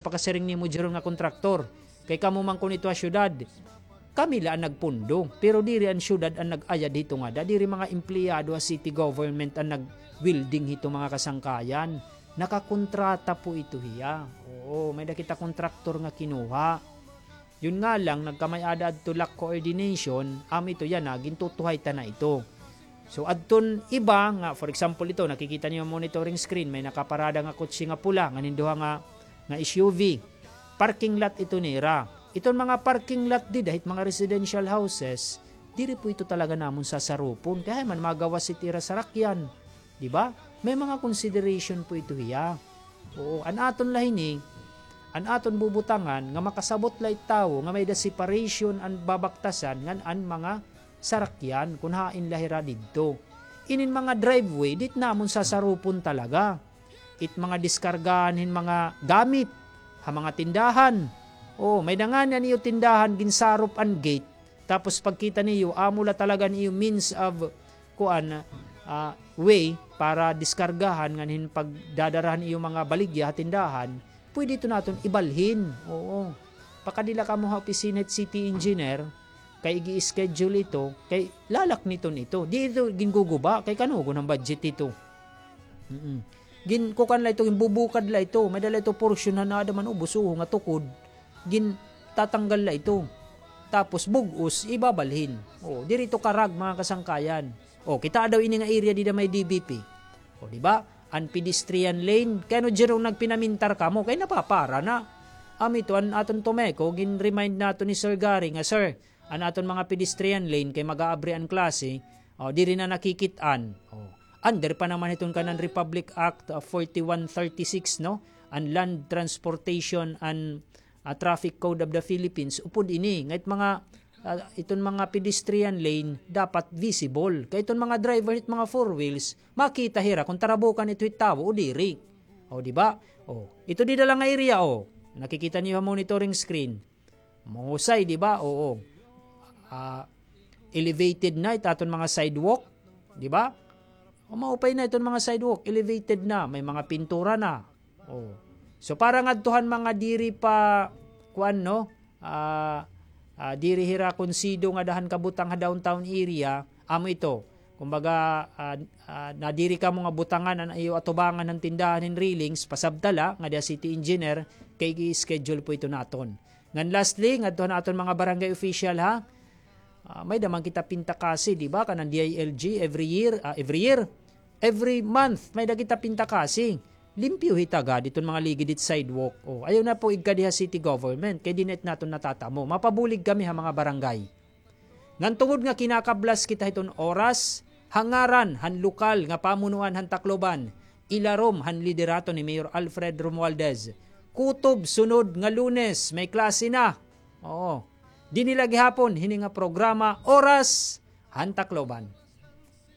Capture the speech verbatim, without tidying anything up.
Makasiring nimo, Jeron, nga kontraktor. Kay kamo man kon ito ha syudad, kami la an nagpundo. Pero diri an syudad an nag-ayad hito ngada. Diri mga empleyado ha city government an nag-welding hito, mga kasangkayan. Nakakontrata po ito hiya. Oo, may-ada kita kontraktor nga kinuha. Yun nga lang, nagkamay-ada adto lack coordination, amo ito yana, gintutuhay ta na ito. So, adton iba nga, for example, ito, nakikita niyo monitoring screen, may nakaparada nga kotse nga pula, ngan hin duha nga, nga S U V. Parking lot ito nira. Iton mga parking lot dida hit mga residential houses, diri po ito talaga namon sasarupon. Kay hay man magawas it ira sarakyan. Di ba? May mga consideration po ito hiya. Oo, an aton la hini, an aton bubutangan nga makasabot la it tawo nga may-ada separation an babaktasan ngan an mga sarakyan kun hain la hira didto. Inin mga driveway, di it namon sasarupon talaga. It mga diskargahan hin mga gamit ha mga tindahan. Oo, may-ada ngani an iyo tindahan, ginsarop an gate. Tapos pagkita niyo, amo la talaga an iyo means of, kuan, ah, way para diskargahan ngan hin pagdadara han iyo mga baligya ha tindahan, pwede ito naton ibalhin. Oo. Pakadi la kamo ha opisina hit city engineer, kay igi-schedule ito, kay lalakniton ito. Di ito ginguguba, kay kanugon an budget ito. Mm-mm. Ginkukan la ito, ginbubukad la ito, may-ada la ito portion han aada man ubos, uho nga tukod, gintatanggal la ito. Tapos bug-os, ibabalhin. O, diri ito karag, mga kasangkayan. O, kitaa daw ini nga area dida may D B P. O, di ba? An pedestrian lane, kay ano, Jerong, nagpinamintar kamo, kay napapara na. Amo ito, an aton Tomeco, gin-remind naton ni Sir Gary nga, "Sir, an aton mga pedestrian lane kay mag-aabri an klase, o, diri na nakikit-an." O, under pa naman hiton kanan Republic Act, ah, forty-one thirty-six, no? An Land Transportation and, ah, Traffic Code of the Philippines, upod ini, nga it mga, ah, iton mga pedestrian lane dapat visible. Kay iton mga driver hit mga four wheels, makita hira kon tarabukan ito hit tawo o diri. O, di ba? O, ito dida la nga area, o. Nakikita niyo ha monitoring screen. Mahusay, di ba? Oo. Ah, elevated na it aton mga sidewalk, di ba? O, maupay na iton mga sidewalk, elevated na, may mga pintura na. O. So, para ngadto han mga diri pa, kuan, no? Ah, ah, diri hira konsido ngada han kabutang ha downtown area, amo ito. Kumbaga, ah, ah, nadiri kamo nga butangan an iyo atubangan han tindahan hin railings, pasabta la ngada ha city engineer, kay i-schedule po ito naton. Ngan lastly, ngadto han aton mga barangay official, ha? Ah, may-ada man kita pintakasi, di ba? Kanan D I L G, every year, ah, every year, every month, may-ada kita pintakasi. Limpyo hita gad iton mga ligid hit sidewalk. O, ayaw na po igkadi ha city government, kay di na it naton natatamo. Mapabulig kami ha mga barangay. Ngan tungod nga kinakablas kita hiton oras, ha ngaran han lokal nga pamunuan han Tacloban, ilarom han liderato ni Mayor Alfred Romualdez, kutob sunod nga Lunes, may klase na. Oo. Dinhi la gihapon hini nga programa, Oras han Tacloban.